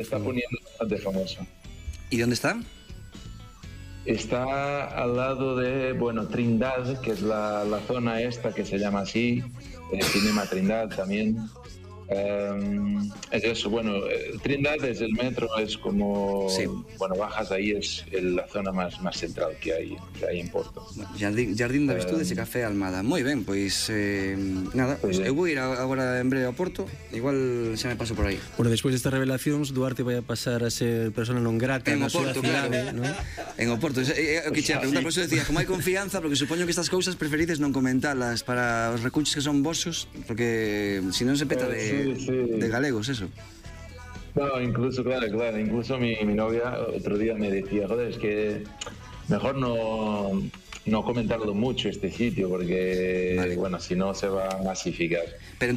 está poniendo bastante famoso. ¿Y dónde está? Está al lado de, bueno, Trindade, que es la zona esta que se llama así, Cinema Trindade también. Es eso, bueno, Trindade es el metro, es como, sí. Bueno, bajas ahí, es la zona más central que hay en Porto. Jardín de Virtudes e Café Almada. Moi ben, pois nada, pois eu vou ir agora en breve a Porto, igual xa me paso por aí. Bueno, despois destas revelacións, Duarte vai a pasar a ser persona non grata en na súa cidade, claro, ¿no? En Oporto, o que che a preguntar, por eso decía, como hai confianza, porque supoño que estas cousas preferides non comentalas para os recunches que son vosos, porque se non se peta de galegos, eso. No, incluso, claro, incluso mi novia otro día me decía, joder, es que mejor no comentarlo mucho este sitio, porque, vale, bueno, si no se va a masificar. Pero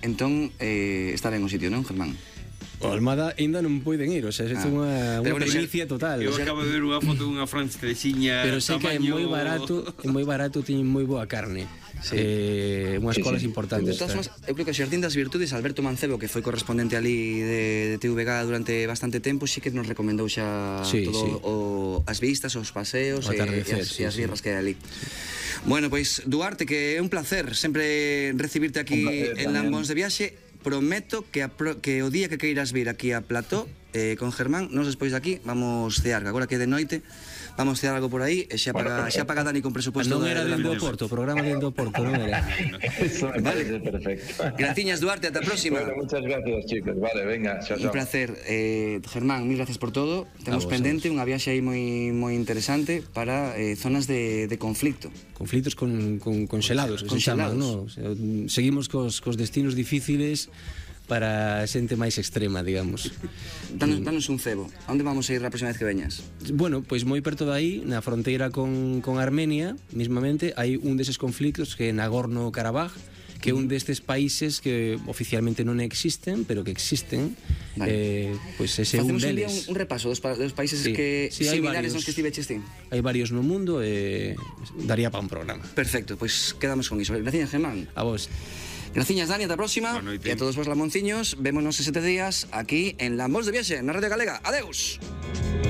entón está ben o sitio, non, Germán? O Almada ainda non poden ir, o sea, é unha primicia total. Eu acabo de ver unha foto dunha francesiña. Pero sei que é moi barato, teñen moi boa carne. Unhas colas importantes. Eu creo que o Xardín das Virtudes, Alberto Mancebo, que foi correspondente ali de TVG durante bastante tempo, sí que nos recomendou xa todo as vistas, os paseos e as birras que hai ali. Bueno, pois Duarte, que é un placer sempre recibirte aquí en Lambóns de Viaxe. Prometo que o día que queiras vir aquí a Plató con Germán, nos despois de aquí vamos cear, agora que é de noite, vamos cear algo por aí e xa paga Dani con presupuesto. Non era dentro do Porto, o programa dentro do Porto, non era. Eso me parece perfecto. Graciñas, Duarte, ata a próxima. Bueno, muchas gracias, chicos. Vale, venga, chao. Un placer. Germán, mil gracias por todo. Temos pendente unha viaxe aí moi interesante para zonas de conflicto. Conflictos conxelados, que se chaman, non? Seguimos cos destinos difíciles para a xente máis extrema, digamos. Danos un cebo. A onde vamos a ir a próxima vez que veñas? Bueno, pois moi perto de aí, na fronteira con Armenia, mismamente, hai un deses conflictos que é Nagorno-Karabaj, que é un destes países que oficialmente non existen, pero que existen. Pois ese é un deles. Facemos un repaso dos países que similares aos que estiveches ti. Hai varios no mundo e daría para un programa. Perfecto, pois quedamos con iso. Gracias, Germán. A vos. Gracias, Dani, ata a próxima. E a todos vos lamonciños, vémonos en 7 días aquí en Lambóns de Viaxe, na Radio Galega. Adeus.